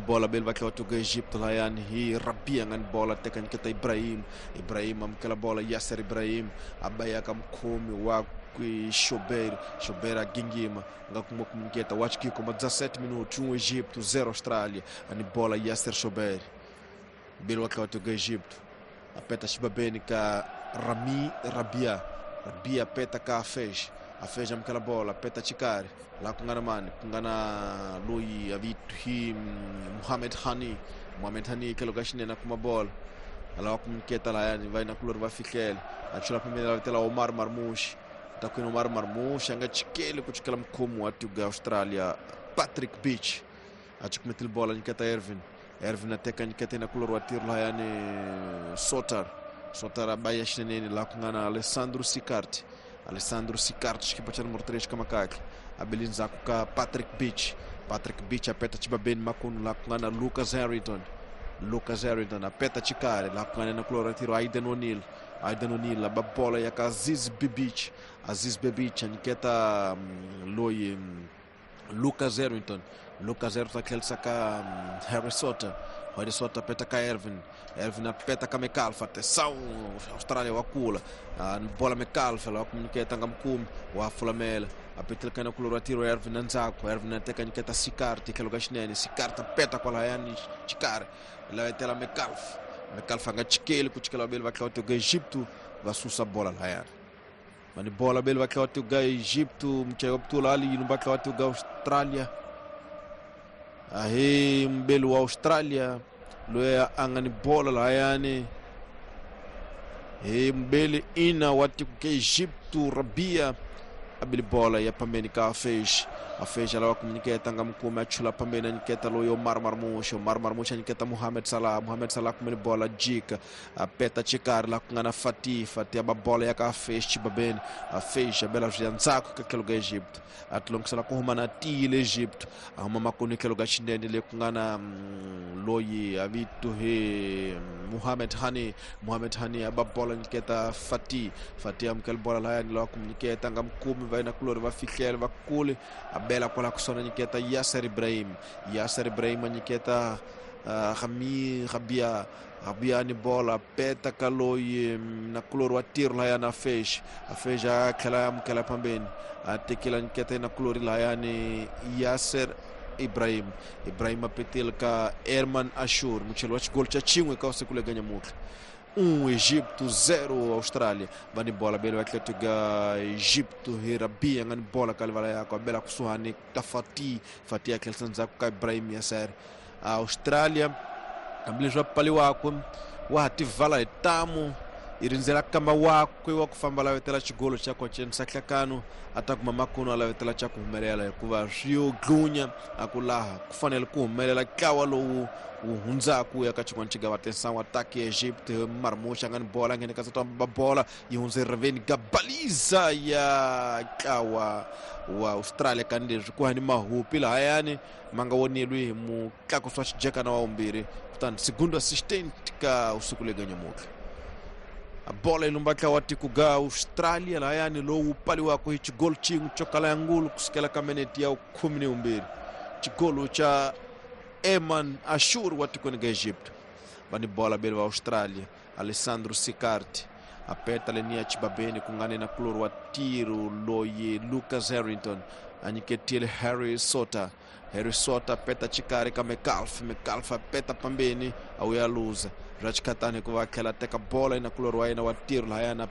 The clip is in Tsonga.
Bola beli va tlhela tuka Egipto layani hi Rabia nga ni bola teka nyiketa Ibrahim. Ibrahim amukela bola Yasser Ibrahim a ba ya ka mukhomi wa Shobeir. Shobeir a gingima nga kuma ku nyiketa wa chikiko ma 17 minutos 1 Egipto 0 Austrália. Ani bola Yasser Shobeir. Beli wa tlhela tuka Egipto. Apeta xibabeni ka Rami Rabia. Rabia apeta ka Afej. Afej amukela bola apeta Chikari. Laha ku nga na mani ku nga na loyi a vito hi Muhammad Hani. Muhammad Hani tlhelo ka xinene a kuma bola. A lava ku nyiketa lahayani va yinakulori va fihlela. A chula pembeni la vitela Omar Marmoush. Ta kwini Omar Marmoush a nga chikeli ku chikela mukhomi wa tiko ya Australia Patrick Beach. A chikumetile bola nyiketa Ervin. Ervin a teka nyiketa yinakulori wa tiro lahayani Sotar. Sotar a ba ya xineneni laha ku nga na Alessandro Sicart. Alessandro Sicart xikipa xa numero 3 ka makakle. A beli ndzhaku ka Patrick Beach. Patrick Beach apeta xibabeni makunu laha ku nga na Lucas Harrington. Lucas Harrington apeta chikari laha ku nga na kulora tiro Aiden O'Neill. Aiden O'Neill a ba bola ya ka Aziz Bibic. Aziz Bibic a nyiketa loyi Lucas Harrington. Lucas Harrington a tlherisa ka Harry Sotter. Harry Sotter apeta ka Ervin. Ervin apeta ka McAlpha. Atenção, Austrália wa kula. Bola McAlpha la ku nyiketa nga mukumi wa fulamela. Apetela ka na kulora tiro Ervin ndzhaku. Ervin ateka nyiketa Sicart tlhelo ka xinene. Sicart apeta kwalayani Chikari. La etela McAlpha. McAlpha nga chikeli ku chikela vabeli va tlhela tiko Egipto va susa bola layani. Mani bola beli va tlhela tiko Egipto muchayi wa putula ali yini va tlhela tiko Australia. Ahe mbeli wa Australia loyi a nga ni bola layani. He mbeli ina wa tiko ka Egipto Rabia a beli bola ya pambeni ka Afej. Afej a lava ku nyiketa nga mukumi a chula pambeni a nyiketa loyi Omar Marmoush. Omar Marmoush a nyiketa Mohamed Salah. Mohamed Salah kumeni bola jika apeta chikari laha ku nga na Fatih. Fatih a ba bola ya ka Afej xibabeni. Afej a bela swi ya ndzhaku ka tlhelo ka Egypt. A tilongisela ku huma na tiyile Egypt. A huma makunu tlhelo ka xinene le ku nga na loyi a vito hi Mohamed Hani. Mohamed Hani a ba bola nyiketa Fatih. Fatih amukela bola lahayani lava ku nyiketa nga mukumi va yinakulori va fihlela va kule a bela kwala kusona nyiketa Yasser Ibrahim. Yasser Ibrahim a nyiketa Rami Rabia. Rabia ni bola peta ka loyi nakulori wa tiro lahayani Afej. Afej a tlhela a amukela pambeni a tekela nyiketa nakulori lahayani Yasser Ibrahim. Ibrahim a petela ka Herman Ashur mucheli wa xigolo xa xin'we ka usiku lega nyamutlha. 1 Egipto 0 Austrália. Va ni bola beli va Atlético Egipto hi Rabia nga ni bola ka livala yakwe a bela kusuhani ka Fatih. Fatih a tlherisa ndzhaku ka Ibrahim Yasser. Australia hambileswi va pfaliwaka wa ha tivala hi tamu i rindzela kamba wakwe wa ku famba lavetela xigolo xa kocenisa nhlakano a ta kuma makunu a lavetela xa ku humelela hikuva swi yo dlunya a ku laha ku fanele ku humelela ntlawa lowu wu hundzaka ya ka xin'wana xigava atenção ataque ya Egypt Marmoush a nga ni bola a nghene ka ba bola yi hundze riveni gabaliza ya ntlawa wa Australia kanileswi ku hani mahupi lahayani ma nga woneliwi hi mutlakusi wa xijekana wa vumbirhi kutani segundo assistant ka usiku lega nyamutlha. Bola yi lumba ntlawa wa tiko ga Australia lahayani lowu pfaliwaka hi xigolo xin'we xo kala ya ngulu kusukela ka minete ya 12 xigolo xa Eman Ashur wa tikweni ga Egypt. Va ni bola beli va Australia Alessandro Sicart apeta leniya xibabeni ku nga ni na kulori wa tiro loyi Lucas Harrington a nyiketile Harry Sotter. Harry Sotter peta chikari ka McAlph. McAlph apeta pambeni a wuya luza bya xikhatani hikuva a tlhela a teka bola yina kulori wa yena wa tiro lahayani a